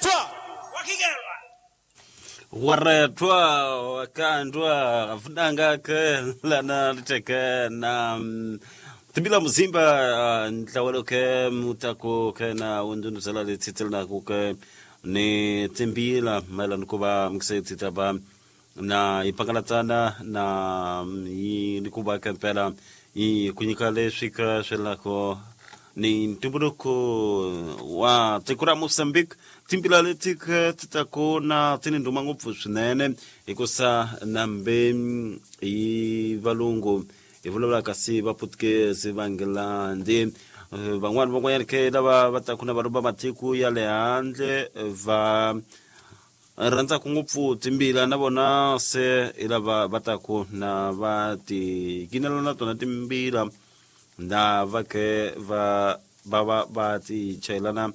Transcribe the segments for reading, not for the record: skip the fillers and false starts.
Waretwa wakigelwa. Waretwa wakandwa vunanga ke lana liteke na timbila muzimba ntlawelo ke mutako ke na undunuzela letsitselana ku ke ni timbila mayelana ku va mukisetsita va na yi pangalatsana na yi ni ku va ke mpela yi ku nyika leswi ka swelako ni ntumbuluko wa tiko ra Mozambique. Timbila leti ke ti ta ku na ti ni ndhuma ngopfu swinene hikusa nambe hi valungu hi vulavula kasi va Portuguese va Nghilandhi, van'wani van'wanyana ke lava va taku na vanhu va matiko ya le handle va rhandzaka ngopfu timbila na vona se hi lava va taku na va ti kinela na tona timbila na va ke va va va va ti chayelana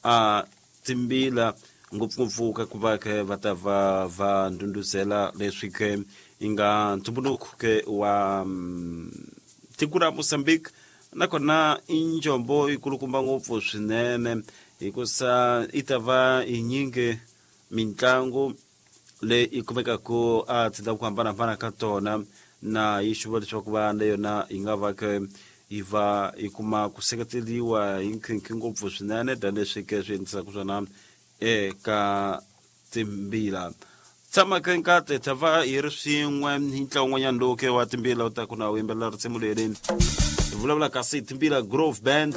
a timbila ngopfungopfu ka ku va ke va ta va va ndhundhuzela leswi ke yi nga ntumbuluko ke wa tiko ra Mozambique. Nakona i njombo yi kulukumba ngopfu swinene hikusa yi ta va yi nyingi mitlangu leyi yi kumekaka a tindhawu ku hambanahambana ka tona na yi xuva leswaku va na yona yi nga va ke yi va yi kuma ku seketeliwa hi nkhinkhi ngopfu swinene tanihileswi ke swi endlisaka swona eka timbila. Tshama ke nkate ta va hi ri swin'we hi ntlawa wun'wanyana lowu ke wa timbila u ta ku na wu yimbelela risimu leri hi vulavula kasi Timbila Grove Band.